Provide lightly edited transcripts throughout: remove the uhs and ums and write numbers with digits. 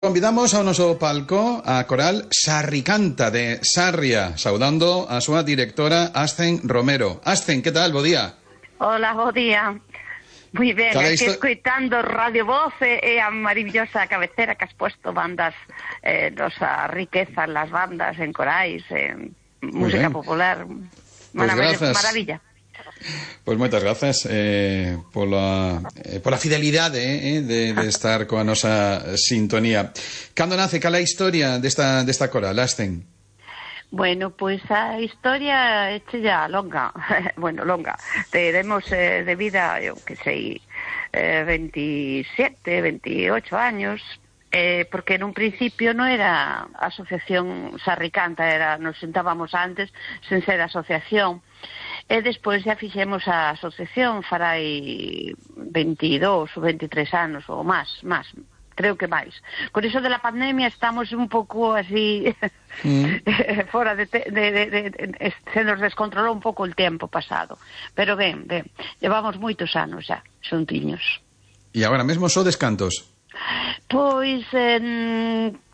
Convidamos ao noso palco a coral Sarricanta de Sarria, saudando a súa directora Ascen Romero. Ascen, que tal? Bo día. Hola, bo día. Moi ben, aquí escoitando Radio Voz e a maravillosa cabecera que has puesto bandas, nosa riqueza en las bandas, en corais, en música popular. Maravilla. Pois moitas grazas pola fidelidade de estar coa nosa sintonía. Cando nace, cal é a historia desta coral, Ascen? Bueno, pois a historia é ya longa. Bueno, longa. Teremos de vida, eu que sei, 27, 28 años, porque nun principio non era asociación Sarricanta, nos sentábamos antes sen ser asociación. E despois xa fixemos a asociación farai 22 ou 23 anos ou máis, creo que máis. Con iso de la pandemia estamos un pouco así fora se nos descontrolou un pouco o tempo pasado, pero ben, levamos moitos anos xa xuntiños. E agora mesmo sodes cantos? Pois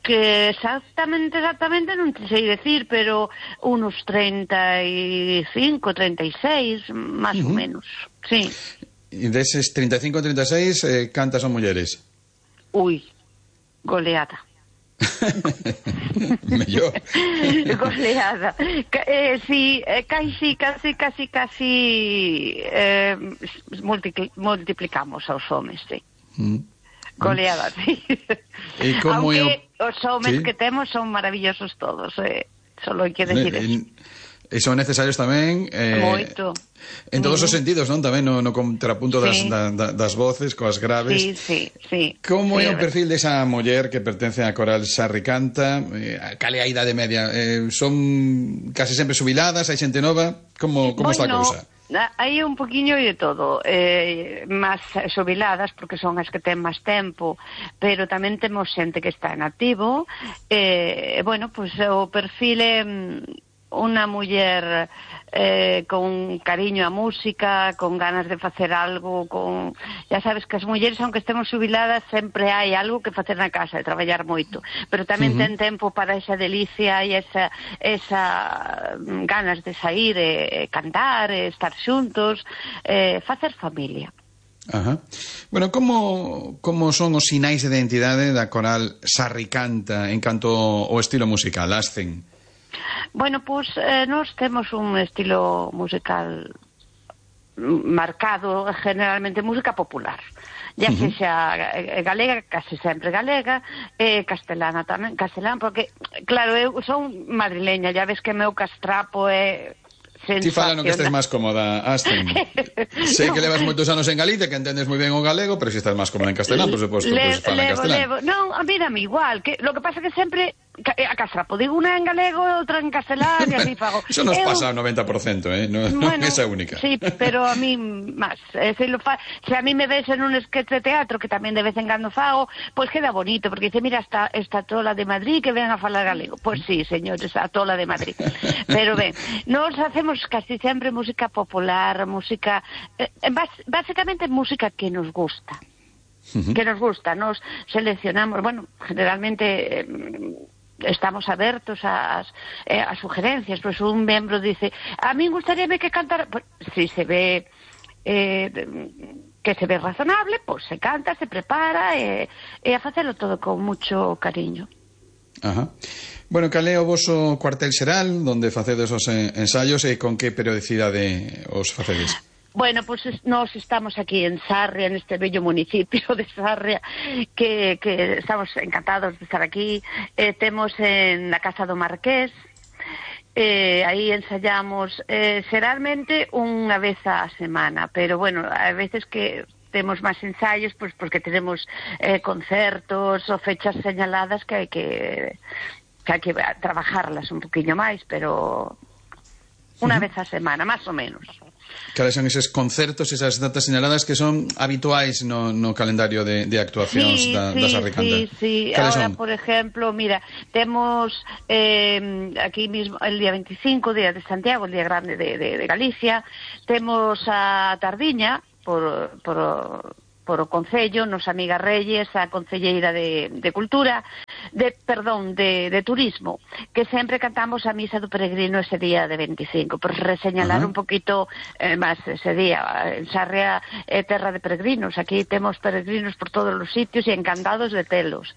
que exactamente non te sei decir, pero unos 35, 36, máis ou menos, sí. E deses 35, 36, cantas son mulleres? Ui, goleada. Mellor. Goleada. Sí, casi multiplicamos aos homes, sí. Goleada, sí. Aunque os homes que temos son maravillosos todos, solo hai que decir eso. E son necesarios tamén moito en todos os sentidos, non? Tamén no contrapunto das voces coas graves. Sí. Como é o perfil desa muller que pertence á coral Sarricanta? Cal é a idade media? Son case sempre xubiladas? Hai xente nova? Como está a cousa? Hai un poquinho de todo, máis xubiladas porque son as que ten máis tempo, pero tamén temos xente que está en activo. Bueno, pois o perfil é unha muller con cariño á música, con ganas de facer algo, ya sabes que as mulleres, aunque estemos xubiladas, sempre hai algo que facer na casa, de traballar moito, pero tamén ten tempo para esa delicia e esa ganas de sair, cantar, estar xuntos, facer familia. Ajá. Bueno, como son os sinais de identidade da coral Sarricanta en canto ao estilo musical, Ascen? Bueno, pois nós temos un estilo musical marcado, generalmente música popular, ya sexa galega, case sempre galega, castelana tamén, porque, claro, eu son madrileña, ya ves que meu castrapo é Ti fala no que estés máis cómoda, Ascen. Sei que levas moitos anos en Galicia, que entendes moi ben o galego, pero se estás máis cómoda en castelán, por suposto, pues fala en castelán. Non, a mí dame igual, lo que pasa que sempre a castrapo digo unha en galego e outra en castelán e así fago. Eso nos pasa ao 90%, non é esa única. Sí, pero a mí máis. Se a mí me ves en un sketch de teatro, que tamén de vez en cando fago, pois queda bonito, porque dice, mira, esta tola de Madrid que ven a falar galego. Pois sí, señores, a tola de Madrid. Pero ben, nos hacemos casi sempre música popular, música básicamente música que nos gusta. Nos seleccionamos, bueno, generalmente estamos abertos a sugerencias, pues un membro dice, a mí gustaríame que cantara, pues, si se ve que se ve razonable, pues se canta, se prepara e a facelo todo con mucho cariño. Ajá. Bueno, cal é o voso cuartel xeral donde facedes os ensaios e con que periodicidade os facedes? Bueno, pues nós estamos aquí en Sarria, neste bello municipio de Sarria, que estamos encantados de estar aquí. Temos en la Casa do Marqués, aí ensayamos xeralmente unha vez a semana, pero bueno, a veces que temos máis ensaios, pues porque tenemos concertos ou fechas señaladas que hai que trabajarlas un poquinho máis, pero unha vez a semana, máis ou menos. Cales son eses concertos, esas datas señaladas que son habituais no calendario de actuacións da Sarricanta? Sí. Ahora, por ejemplo, mira, temos aquí mismo el día 25, Día de Santiago, el Día Grande de Galicia, temos a Tardiña, por por o Concello, nos amiga Reyes, a Concelleira de Cultura, de Turismo, que sempre cantamos a misa do peregrino ese día de 25, por reseñalar un poquito máis ese día. En Sarria é terra de peregrinos, aquí temos peregrinos por todos os sitios e encantados de telos.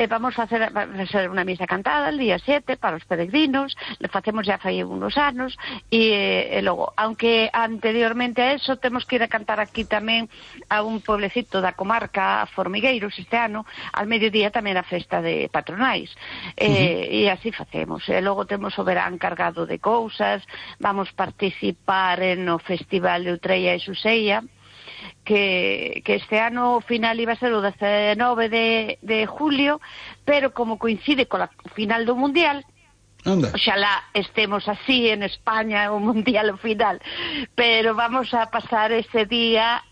Vamos a facer unha misa cantada el día 7 para os peregrinos, le facemos ya fai unos anos, e logo, aunque anteriormente a eso temos que ir a cantar aquí tamén a un pueblecito da comarca, a Formigueiros, este ano, al mediodía tamén a festa de patronais, e así facemos. E logo temos o verán cargado de cousas, vamos participar no Festival de Utreia e Xuseia, que este ano o final iba a ser o 19 de julio, pero como coincide co final do Mundial, oxalá estemos así en España o Mundial ao final, pero vamos a pasar ese día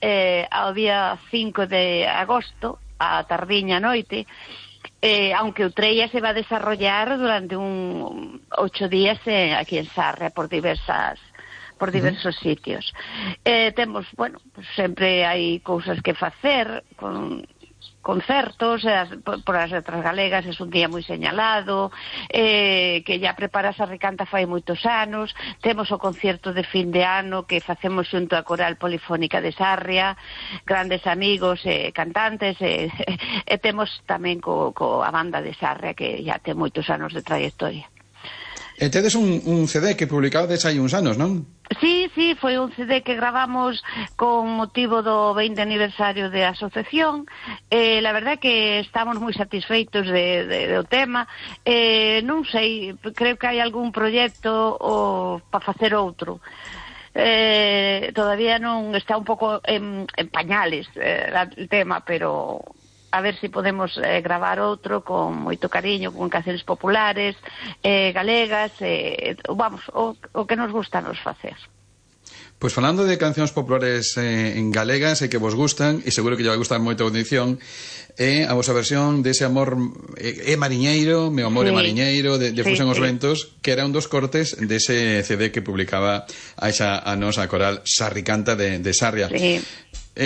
ao día 5 de agosto, a tardiña noite, aunque Utreia se va a desarrollar durante 8 días aquí en Sarria por diversos sitios. Temos, bueno, pues sempre hai cousas que facer, con concertos, por as letras galegas é un día moi señalado, que ya prepara Sarricanta fai moitos anos. Temos o concerto de fin de ano que facemos xunto a Coral Polifónica de Sarria, grandes amigos e cantantes, e temos tamén a banda de Sarria que ya ten moitos anos de trayectoria. E tedes un CD que publicades hai uns anos, non? Sí, foi un CD que gravamos con motivo do 20 aniversario de asociación. La verdad que estamos moi satisfeitos do tema. Non sei, creo que hai algún proxecto para facer outro. Todavía non está un pouco en pañales o tema, pero a ver se podemos gravar outro con moito cariño, con cancións populares, galegas, vamos, o que nos gusta nos facer. Pois falando de cancións populares en galegas e que vos gustan, e seguro que lle vai gustar moito a audición, a vosa versión dese amor mariñeiro, meu amor é mariñeiro, de Fusen os ventos, que era un dos cortes dese CD que publicaba a nosa coral Sarricanta de Sarria. Sí.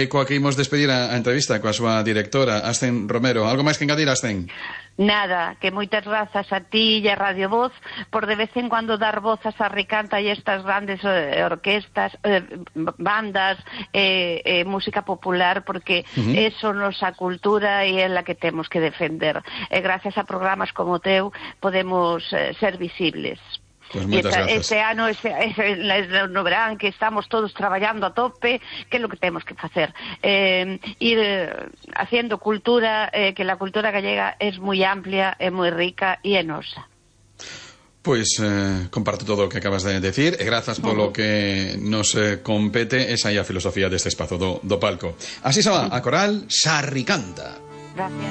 Coa que imos despedir a entrevista coa súa directora, Asten Romero. Algo máis que engadir, Asten? Nada, que moitas grazas a ti e a Radio Voz por de vez en cuando dar voz a Sarricanta e estas grandes orquestas, bandas, música popular, porque eso nosa cultura e é la que temos que defender. E gracias a programas como o teu podemos ser visibles. Pues moitas grazas. Este ano, no verán, que estamos todos traballando a tope, que é lo que temos que facer, ir haciendo cultura, que la cultura gallega é moi amplia, é moi rica e é nosa. Pois comparto todo o que acabas de decir e grazas polo que nos compete esa aí a filosofía deste espazo do palco. Así se va a coral Sarricanta. Gracias.